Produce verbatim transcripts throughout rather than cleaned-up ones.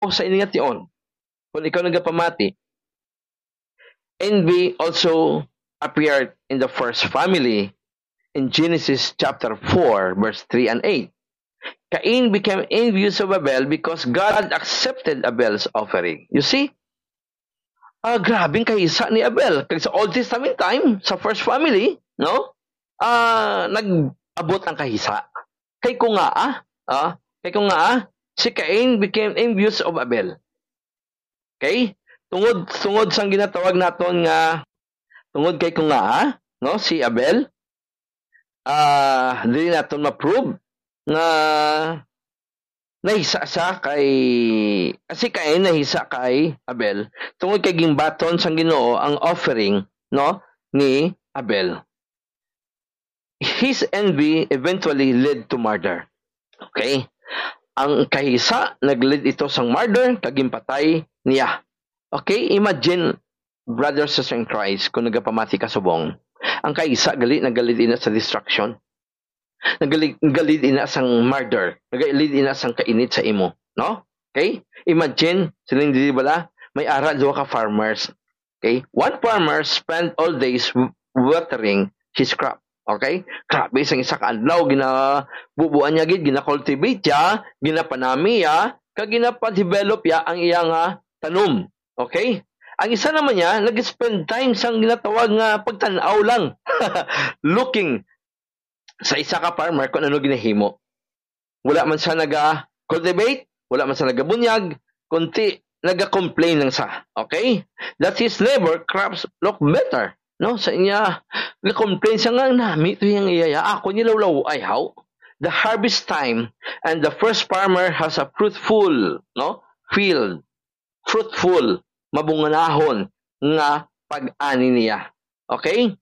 sa ini nga tion. Kung ikaw nagapamati, envy also appeared in the first family in Genesis chapter four, verse three and eight. Cain became envious of Abel because God accepted Abel's offering. You see? Ah, grabe ang kahisa ni Abel. Kag sa Old Testament time, sa first family, no? Ah, nag-abot ang kahisa. Kay ko nga, ah, ah, kay ko nga, ah, si Cain became envious of Abel. Okay? Tungod, tungod sang ginatawag naton nga, tungod kay ko nga, ah, no, si Abel, ah, dili naton ma-prove nga nahisa sa kay, si Cain nahisa kay Abel, tungod kay gimbaton sang Ginoo ang offering, no, ni Abel. His envy eventually led to murder. Okay? Ang kahisa nag-lead ito sang murder, kag ginpatay niya. Okay? Imagine, brothers and sisters in Christ, kung nagapamati ka subong, ang kahisa gali nag-lead ina sa destruction. Nag-lead, nag-lead ina sang murder. Nag-lead ina sang kainit sa imo, no? Okay? Imagine, siling diri bala, may ara duha ka farmers. Okay? One farmer spent all days w-, watering his crop. Okay? Grabe, sang isa ka adlaw, ginabubuan niya gid, gina-cultivate niya, ginapanami niya, kag ginapa-develop niya ang iya nga tanom. Okay? Ang isa naman niya, nag-spend time sang ginatawag nga pagtan-aw lang. Looking sa isa ka farmer kung ano ginahimo. Wala man siya naga-cultivate, wala man siya nagabunyag, kunti naga-complain lang siya. Okay? That his neighbor crops look better. No? Sa inya, nag-complain siya nga, "Nami to yung iya, ako nilawlaw ay how?" The harvest time, and the first farmer has a fruitful, no, field, fruitful, mabunganahon nga pag-ani niya. Okay?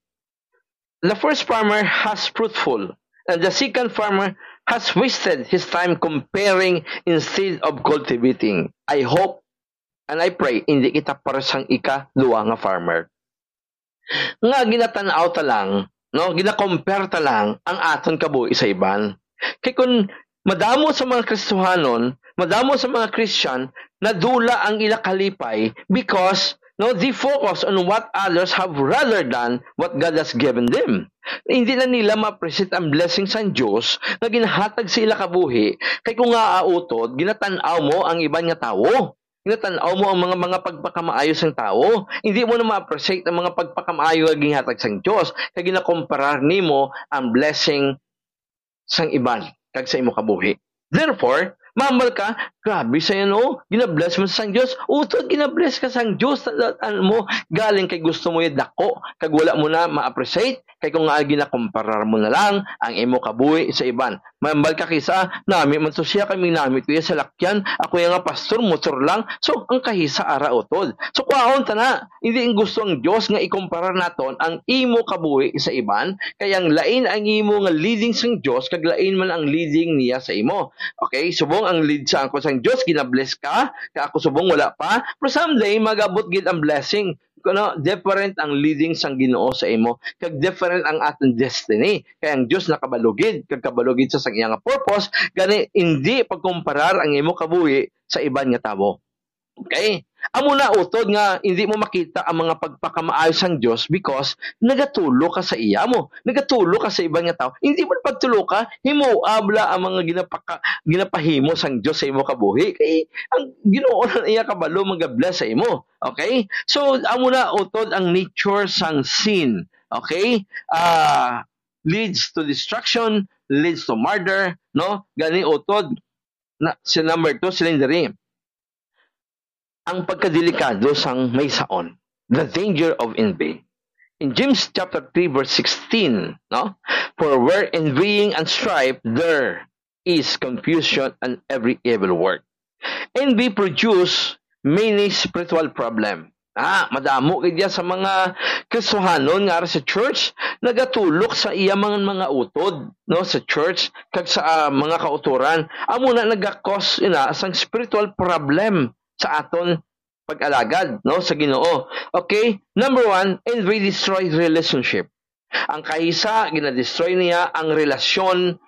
The first farmer has fruitful, and the second farmer has wasted his time comparing instead of cultivating. I hope and I pray hindi kita para sang ikaduha nga farmer nga ginatan-aw ta lang, no, gina-compare ta lang ang aton kabuhi sa iban. Kay kun madamo sa mga Kristohanon, madamo sa mga Christian, nadula ang ila kalipay because, no, they focus on what others have rather than what God has given them. Hindi na nila ma-appreciate ang blessing sang Dios nga ginahatag sa ila kabuhi, kay kung nga autod, ginatan-aw mo ang iban nga tawo. Ginatan-aw mo ang mga, mga pagpakamaayo sang tawo. Hindi mo na ma-appreciate ang mga pagpakamaayo nga ginhatag sang Dios, kay ginakomparar nimo ang blessing sang iban kag sa imo kabuhi. Therefore, mahambal ka, "Grabe sa yan, oh. Ginabless mo sang Dios." Utod, ginabless ka sang Dios. Tan-, tan-, mo, galing kay gusto mo yung dako, kag wala mo na ma-appreciate, kay kung nga ginakomparar mo na lang ang imo kabuhi sa iban. Mahambal ka kisa, "Nami man to siya, kami nami to iya sa lakyan. Ako yung nga pastor, motor lang." So, ang kahisa ara utod. So, kwaon ta na. Hindi ang gusto ang Dios nga ikomparar naton ang imo kabuhi sa iban, kay ang lain ang imo nga leading sang Dios, kag lain man ang leading niya sa imo. Okay, subong ang lead sa ako sang Dios, ginabless ka, kay ako subong wala pa, pero someday magabot gid ang blessing. Kuno, different ang leading sang Ginoo sa imo, kag different ang aton destiny. Kay ang Dios nakabalugid, kag kabalugid sa sang iya nga purpose, gani hindi pagkomparar ang imo kabuhi sa iban nga tawo. Okay? Amo na utod nga hindi mo makita ang mga pagpakamaayo sang Dios because nagatulo ka sa iya mo, nagatulo ka sa iban nga tawo. Hindi mo pagtulo ka, himo abla ang mga ginapaka-, ginapahimo sang Dios sa imo kabuhi. Kay ang Ginoo na iya kabalo magabless sa imo. Okay? So, amo na utod ang nature sang sin. Okay? Ah, leads to destruction, leads to murder, no? Gani utod na, si number two, siling diri, ang pagkadelikado sang may saon, the danger of envy. In James chapter three, verse sixteen, no? "For where envying and strife, there is confusion and every evil work." Envy produce many spiritual problem. Ah, madamo gid ya sa mga Kristohanon nga ara sa church, nagatulok sa iya mga, mga utod, no, sa church, kag sa, ah, mga kautoran. Amo na nagakos ina sang spiritual problem sa aton pag-alagad, no, sa Ginoo. Okay? Number one, envy destroys relationship. Ang kahisa, ginadestroy niya ang relasyon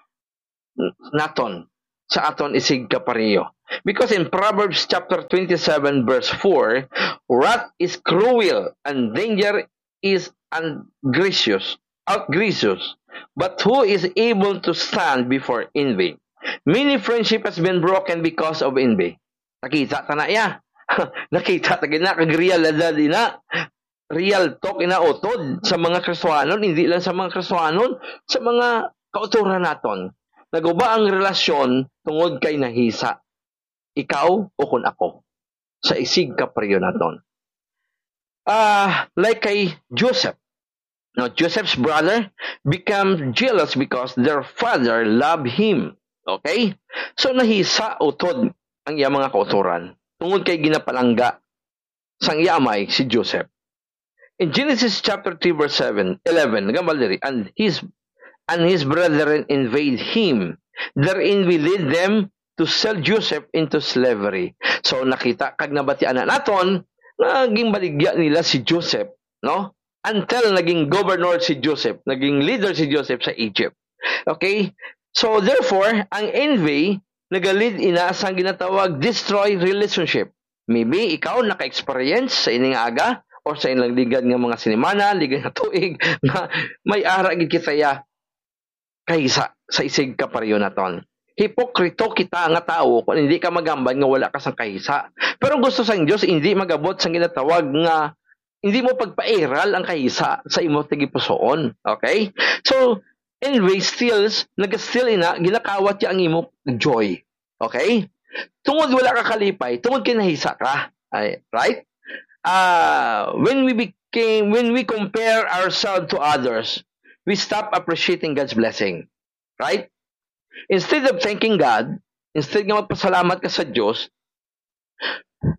naton. sa aton isigkapareho. Because in Proverbs chapter twenty-seven, verse four, "Wrath is cruel and danger is ungracious, outrageous, but who is able to stand before envy?" Many friendship has been broken because of envy. Nakita ta na iya. Nakita ta gina, kag realidad ina. Real talk ina, utod sa mga Kristiyanon, hindi lang sa mga Kristiyanon, sa mga kautoran naton. Naguba ang relasyon tungod kay nahisa. Ikaw o kun ako. Sa isigkapareho naton. Ah, like kay Joseph. Now, Joseph's brother become jealous because their father love him. Okay? So, nahisa utod ang iyang mga kautoran tungod kay ginapalangga sang iya amay si Joseph. In Genesis chapter three, verse seven, eleven, nagambal diri, "And his, and his brethren invade him. Their envy led them to sell Joseph into slavery." So, nakita kag nabatian na naton nga ginbaligya nila si Joseph, no? Until naging governor si Joseph, naging leader si Joseph sa Egypt. Okay? So, therefore, ang envy nagalid ina sang ginatawag destroy relationship. Maybe ikaw naka-experience sa ini nga aga or sa ilang ligad nga mga sinimana, ligad nga tuig, nga may ara gid kita ya kaysa sa isigkapareho naton. Hipokrito kita nga tawo kung hindi ka magambal nga wala ka sang kahisa. Pero ang gusto sang Dios, hindi magabot sang ginatawag nga hindi mo pagpairal ang kahisa sa imo tagipusoon. Okay? So, envy steals, nag-steal ina, ginakawat niya ang imo joy. Okay? Tungod wala ka kalipay, tungod kay nahisa ka. Ay, right? Ah, when we became, when we compare ourselves to others, we stop appreciating God's blessing. Right? Instead of thanking God, instead nga magpasalamat ka sa Dios,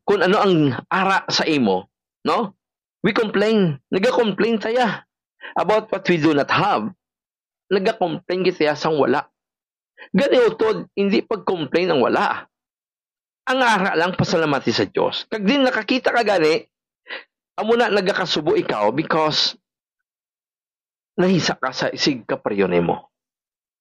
kung ano ang ara sa imo, no? We complain. Nagacomplain taya about what we do not have. Nagacomplain kita sang wala. Gani utod, hindi pag-complain ang wala. Ang ara lang, pasalamati sa Dios. Kag din nakakita ka gani, amo na nagakasubo ikaw because nahisa ka sa isigkapareho nimo.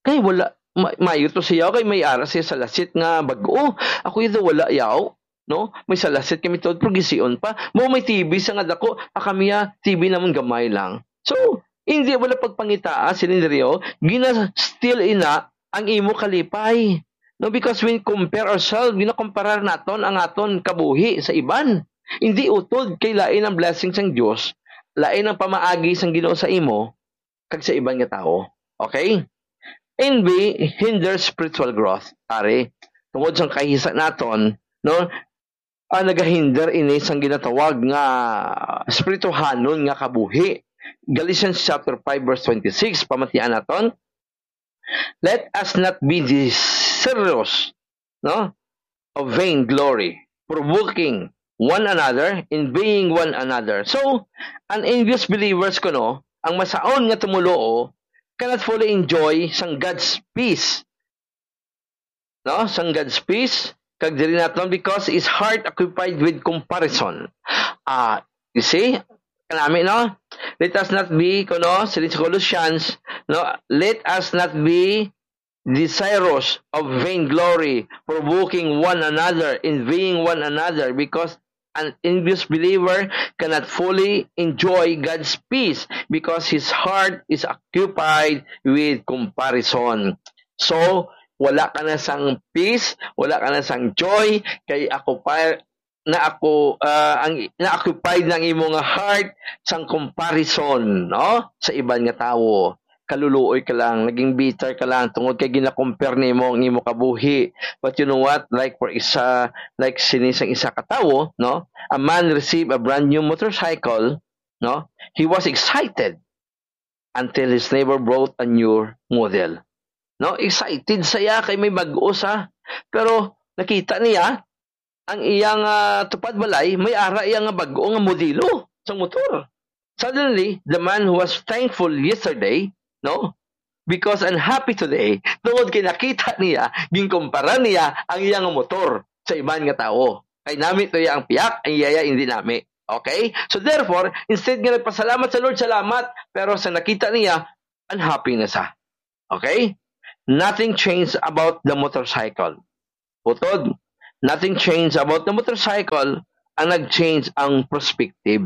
Kay wala, ma-, maayo to siya, kay may ara siya sa lasit nga bag-o. Ako ito wala yaw, no? May sa lasit kami tuod, pero gision pa. Mo may T V sa nga dako, ah, kami, ah, T V namon gamay lang. So, hindi wala pagpangitaa, siling diri, oh, gina-steal ina ang imo kalipay. No, because when compare ourselves, ginakomparar naton ang aton kabuhi sa iban. Hindi utod kay lain ang blessing sang Dios, lain ang pamaagi sang Ginoo sa imo kag sa iban nga tawo. Okay? Envy hinders spiritual growth. Ari, tungod sang kahisa naton, no? Ah, nagahinder ini sang ginatawag nga espirituhanon nga kabuhi. Galatians chapter five, verse twenty-six, pamatian naton, "Let us not be desirous, no, of vain glory, provoking one another, envying one another." So, an envious believers kuno, ang masaon nga tumoluo, cannot fully enjoy sang God's peace, no? Sang God's peace, kag diri naton, because his heart occupied with comparison. Ah, you see? Kanami, no? Let us not be, kuno, siling sa Colossians, no? "Let us not be desirous of vainglory, provoking one another, envying one another, because an envious believer cannot fully enjoy God's peace because his heart is occupied with comparison." So, wala ka na sang peace, wala ka na sang joy, kay ako pa, na ako, ah, ang, na-occupied na ang imo nga heart sang comparison, no? Sa iban nga tawo. Kaluluoy ka lang, naging bitter ka lang, tungod kay gina-compare nimo ang imo kabuhi. But you know what? Like for isa, like sini sang isa ka tawo, no? A man received a brand new motorcycle, no? He was excited until his neighbor brought a new model. No? Excited saya kay may bag-o sa. Pero nakita niya, ang iyang, ah, tupad balay, may ara iya nga bag-o nga modelo sa motor. Suddenly, the man who was thankful yesterday, no? Because unhappy today, tungod kay nakita niya, ginkumpara niya ang iya nga motor sa iban nga tawo. Kay nami to iya ang piyak, ang iya hindi nami. Okay? So therefore, instead nga nagpasalamat sa Lord, salamat, pero sa nakita niya, unhappy na siya. Okay? Nothing changed about the motorcycle. Utod, nothing changed about the motorcycle, ang nag-change ang perspective.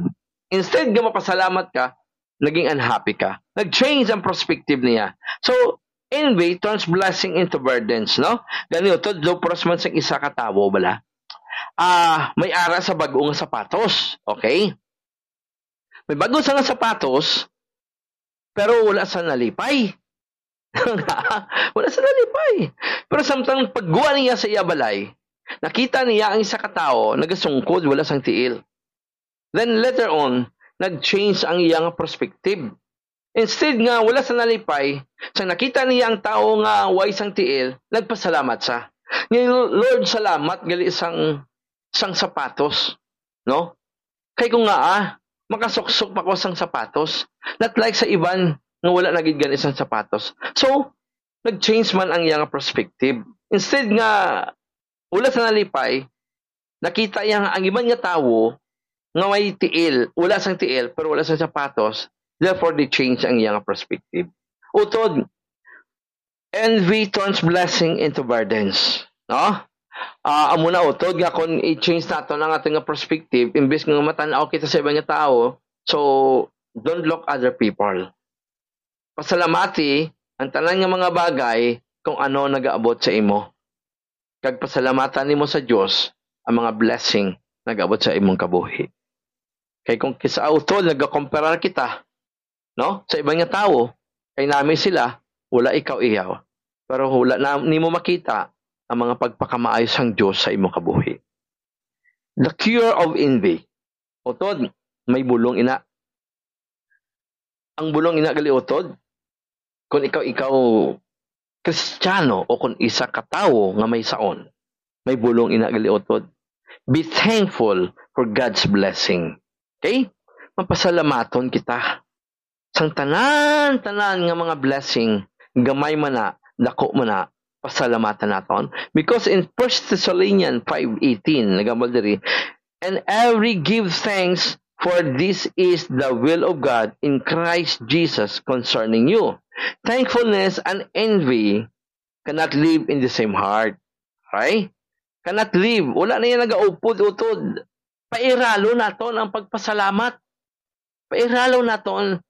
Instead nga mapasalamat ka, naging unhappy ka. Nag-change ang perspective niya. So, envy turns blessing into burdens, no? Gani, utod, daw puros man sang isa ka tawo, bala. Ah, may ara sa bag-o nga sapatos, okay? May bag-o sa nga sapatos, pero wala sa nalipay. Wala sa nalipay. Pero samtang pagguwa niya sa iya balay, nakita niya ang isa ka tawo nagasungkod, wala sang tiil. Then later on, nag-change ang iya nga perspective. Instead nga wala sa nalipay, sa nakita niya ang tawo nga way sang tiil, nagpasalamat siya. Nga, "Lord, salamat gali sang, sang sapatos, no? Kay kung nga, ah, makasuksok pa ko sang sapatos, not like sa iban nga wala na gid gani sang sapatos." So, nag-change man ang iya nga perspective. Instead nga wala sa nalipay, nakita iya nga ang iban nga tawo nga may tiil, wala sang tiil, pero wala sang sapatos, therefore they change ang iya nga perspective. Utod, envy turns blessing into burdens. No? Ah, amo na utod nga kung i-change naton ang aton nga perspective, imbes nga matan-aw kita sa iban nga tawo, so don't look other people. Pasalamati ang tanan nga mga bagay kung ano nagaabot sa imo, kag pasalamatan nimo sa Dios ang mga blessing nagaabot sa imong kabuhi. Kay kung kis-a utod nagakomparar kita, no, sa iban nga tawo, kay nami sila, wala ikaw iyaw, pero wala na nimo makita ang mga pagpakamaayo sang Dios sa imong kabuhi. The cure of envy. Utod, may bulong ina. Ang bulong ina gali utod, kung ikaw, ikaw Kristiyano o kung isa ka tawo nga may saon, may bulong ina gali utod. Be thankful for God's blessing. Okay? Mapasalamaton kita sang tanan-tanan nga mga blessing, gamay man na, dako man na, pasalamatan naton. Because in First Thessalonians five eighteen, nagambal diri, "And every give thanks, for this is the will of God in Christ Jesus concerning you." Thankfulness and envy cannot live in the same heart. Okay? Cannot live. Wala na yan nagaupod-utod. Pairalo naton ang pagpasalamat. Pairalo naton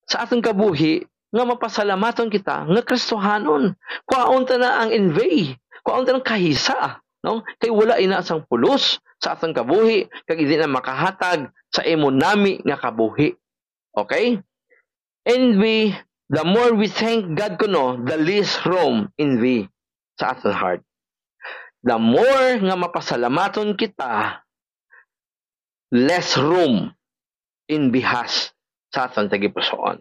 sa aton kabuhi nga mapasalamaton kita nga Kristohanon. Kuhaon ta na ang envy. Kuhaon ta ng kahisa, no? Kay wala ina sang pulos sa aton kabuhi, kag hindi na makahatag sa imo nami nga kabuhi. Okay? Envy, the more we thank God kuno, the less room envy sa aton heart. The more nga mapasalamaton kita, less room envy has sa aton tagipusoon.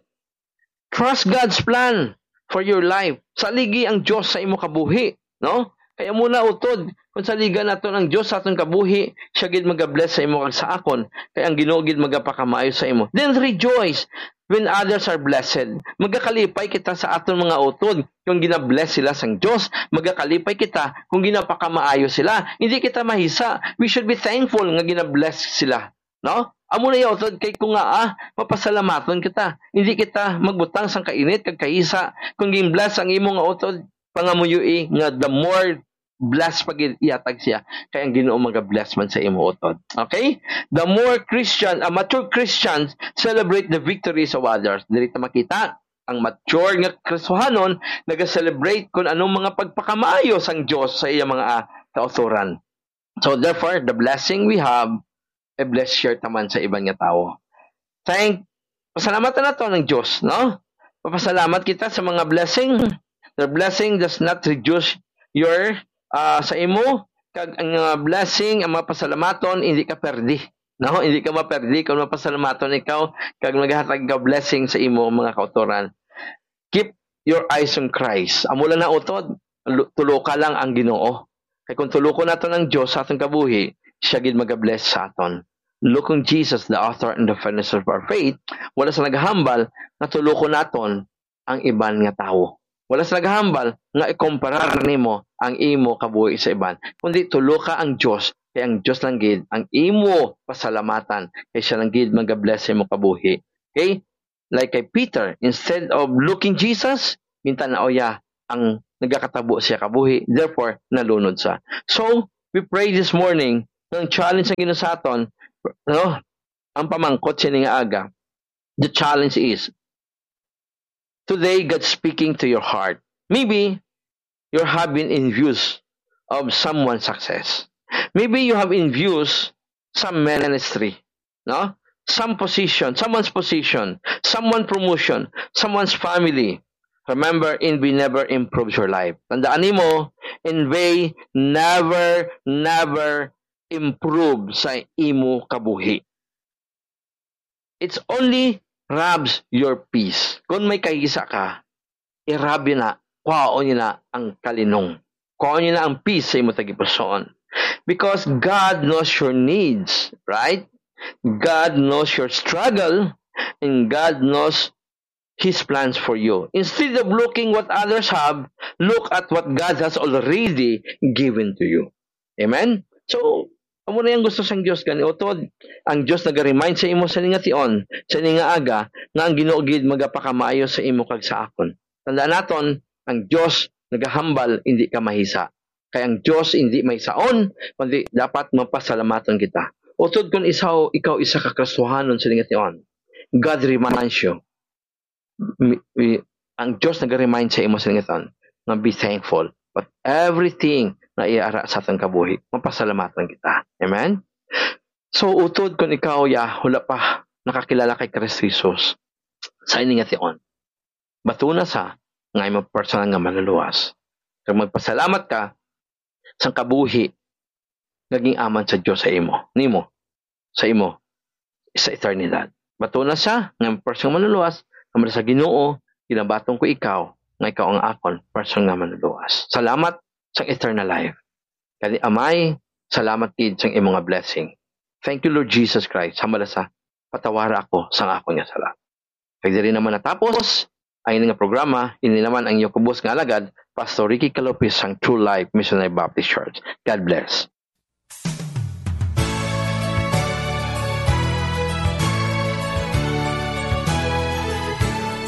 Trust God's plan for your life. Saligi ang Dios sa imo kabuhi, no? Kay amo na utod, kung saligan naton ang Dios sa aton kabuhi, siya gid magabless sa imo kag sa akon. Kay ang Ginoo gid magapakamaayo sa imo. Then rejoice when others are blessed. Magakalipay kita sa aton mga utod kung ginabless sila sang Dios. Magakalipay kita kung ginapakamaayo sila. Hindi kita mahisa. We should be thankful nga ginabless sila. No? Amo na iya utod kay kung nga, ah, mapasalamaton kita. Hindi kita magbutang sang kainit kag kahisa. Kung gin-bless ang imo nga utod, pangamuyoi nga the more bless pa gid ihatag siya, kay ang Ginoo magabless man sa imo utod. Okay? The more Christian, a mature Christians celebrate the victories of others. Diri ta makita ang mature nga Kristohanon naga-celebrate kung anong mga pagpakamaayo sang Dios sa iya mga, ah, kautoran. So therefore, the blessing we have, i-bless share ta man sa iban nga tawo. Thank, pasalamatan nato ang Dios, no? Papasalamat kita sa mga blessing. The blessing does not reduce your, ah, sa imo, kag ang, ah, blessing, ang mga pasalamaton, hindi ka perdi. No? Hindi ka maperdi kung mapasalamaton ikaw, kag naghatag ka blessing sa imo mga kautoran. Keep your eyes on Christ. Amo lang na utod, lu-, tuloka lang ang Ginoo. Kay kung tulokon naton ang Dios sa aton kabuhi, siya gid magabless sa aton. Look on Jesus, the author and the finisher of our faith. Wala sa nagahambal nga tulokon naton ang iban nga tawo. Wala sa nagahambal nga ikomparar nimo ang imo kabuhi sa iban, kundi tuloka ang Dios, kay ang Dios lang gid ang imo pasalamatan, kay siya lang gid magabless sa imo kabuhi. Okay? Like kay Peter, instead of looking Jesus, gintan-aw iya ang nagakatabo siya kabuhi, therefore nalunod siya. So, we pray this morning, ang challenge sa Ginoo sa aton, no? Ang pamangkot sini nga aga, the challenge is, today God speaking to your heart. Maybe you have been envious of someone's success. Maybe you have envious some ministry, no? Some position, someone's position, someone promotion, someone's family. Remember, envy never improves your life. Tandaan nimo, envy never, never improve sa imo kabuhi. It's only robs your peace. Kung may kahisa ka, i-rob yun na, kwaon yun na ang kalinong. Kwaon yun na ang peace sa imo tagipusoon. Because God knows your needs, right? God knows your struggle, and God knows His plans for you. Instead of looking what others have, look at what God has already given to you. Amen? So, amo na yung gusto sang Dios gani. Utod, ang Dios naga-remind sa imo sa ning tion, sa ning aga, nga ang Ginoo gid magapakamayo sa imo kag sa akon. Tandaan naton, ang Dios nagahambal, hindi ka mahisa. Kay ang Dios hindi mahisaon, kundi dapat mapasalamaton kita. Utod kun isaw, ikaw isa ka Kristohanon sa ning tion, God reminds you, mi-, mi-, ang Dios naga-remind sa imo sa ning tion nga be thankful. But everything na iya ara sa atong kabuhi, mapasalamaton kita. Amen? So, utod kun ikaw, ya, wala pa nakakilala kay Kristo Jesus, sa ini nga tion, batuna sa nga imo personal nga manluluwas. Kag magpasalamat ka sa kabuhi nga gin-aman sa Dios sa imo, nimo, sa imo, sa eternidad. Batuna sa nga imo personal nga manluluwas, nga sa Ginoo, ginabaton ko ikaw, nga ikaw ang akon personal nga manluluwas. Salamat sa eternal life. Kani Amay, salamat gid sa imo nga blessing. Thank you, Lord Jesus Christ. Hambala sa patawara ako sang akon nga sala. Kag diri naman natapos ang ini nga programa, ini naman ang inyo kubos nga alagad, Pastor Ricky Calopis sang True Life Missionary Baptist Church. God bless.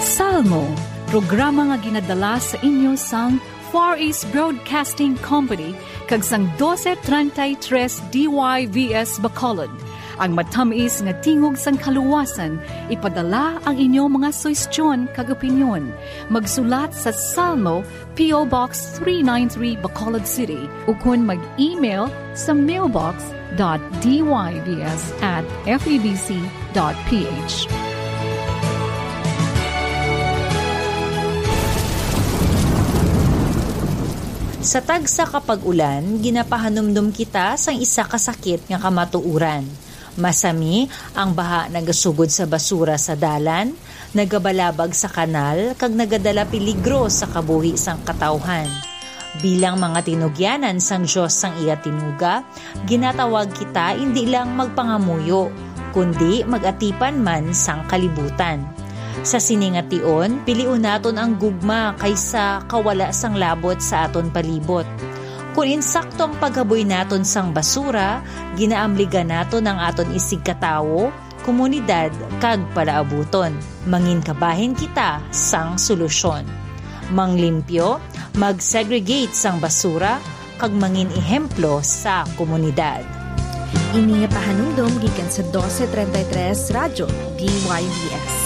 Salmo, programa nga ginadala sa inyo sang Far East Broadcasting Company kag sang doce treinta y tres D Y V S Bacolod. Ang matamis nga tingog sang kaluwasan, ipadala ang inyo mga suhestyon kag opinyon. Magsulat sa Salmo, P O Box three nine three, Bacolod City, ukon mag-email sa mailbox dot D Y V S at F E B C dot P H. Sa tagsa ka pag-ulan, ginapahanumdom kita sang isa ka sakit nga kamatuoran. Masami ang baha nagasugod sa basura sa dalan, nagabalabag sa kanal, kag nagadala peligro sa kabuhi sang katawhan. Bilang mga tinugyanan sang Dios sang iya tinuga, ginatawag kita indi lang magpangamuyo, kundi mag-atipan man sang kalibutan. Sa sini nga tion, pilion naton ang gugma kaysa kawala sang labot sa aton palibot. Kon insakto ang paghaboy naton sang basura, ginaamligan naton ang aton isigkatawo, komunidad, kag palaabuton. Mangin kabahin kita sang solusyon. Manglimpyo, mag-segregate sang basura, kag mangin ehemplo sa komunidad. Ini nga pahanumdom gikan sa doce treinta y tres Radyo D Y V S.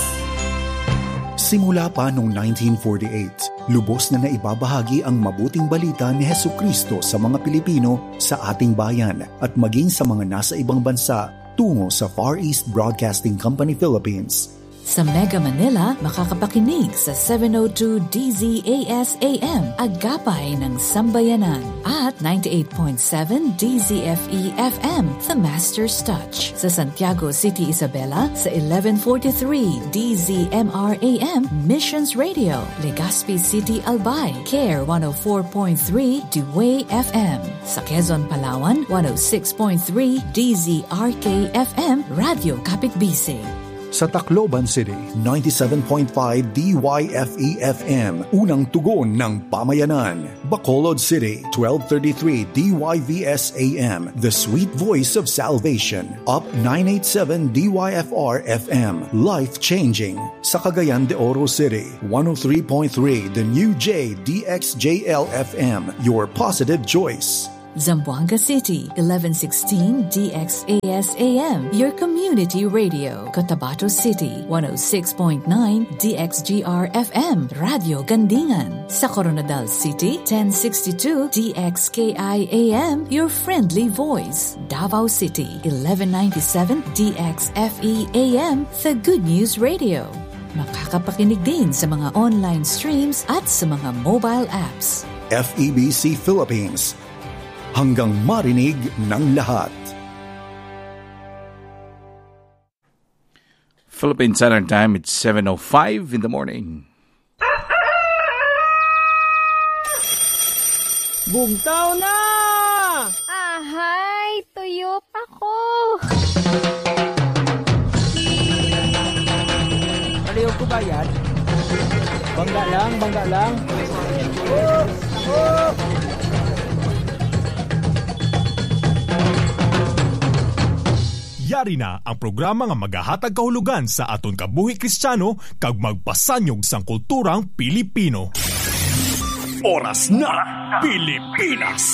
Simula pa noong nineteen forty-eight, lubos na naibabahagi ang mabuting balita ni Jesucristo sa mga Pilipino sa ating bayan at maging sa mga nasa ibang bansa tungo sa Far East Broadcasting Company Philippines. Sa Mega Manila, makakapakinig sa seven oh two D Z A S A M, Agapay ng Sambayanan, at ninety-eight point seven D Z F E F M, The Master's Touch. Sa Santiago City, Isabela, sa eleven forty-three D Z M R A M, Missions Radio, Legazpi City, Albay, Care one oh four point three, Dway F M. Sa Quezon, Palawan, one oh six point three D Z R K F M, Radyo Kapitbisig. Sa Tacloban City, ninety-seven point five D Y F E F M, unang tugon ng pamayanan. Bacolod City, twelve thirty-three D Y V S A M, the sweet voice of salvation. Up nine eight seven D Y F R F M, life-changing. Sa Cagayan de Oro City, one oh three point three The New J D X J L F M, your positive choice. Zamboanga City, eleven sixteen D X A S A M, your community radio. Cotabato City, one oh six point nine D X G R F M, Radio Gandingan. Sa Koronadal City, ten sixty-two D X K I A M, your friendly voice. Davao City, eleven ninety-seven D X F E A M, the good news radio. Makakapakinig din sa mga online streams at sa mga mobile apps. F E B C Philippines, hanggang marinig ng lahat. Philippine Standard Time, it's seven oh five in the morning. Bugtaw na! Ahay, tuyop ako. Palihog ko bayad. Bangga lang, bangga lang. Yari na ang programa nga magahatag kahulogan sa aton kabuhi Kristiyano kag magpasanyog sang kulturang Pilipino. Oras na, Pilipinas!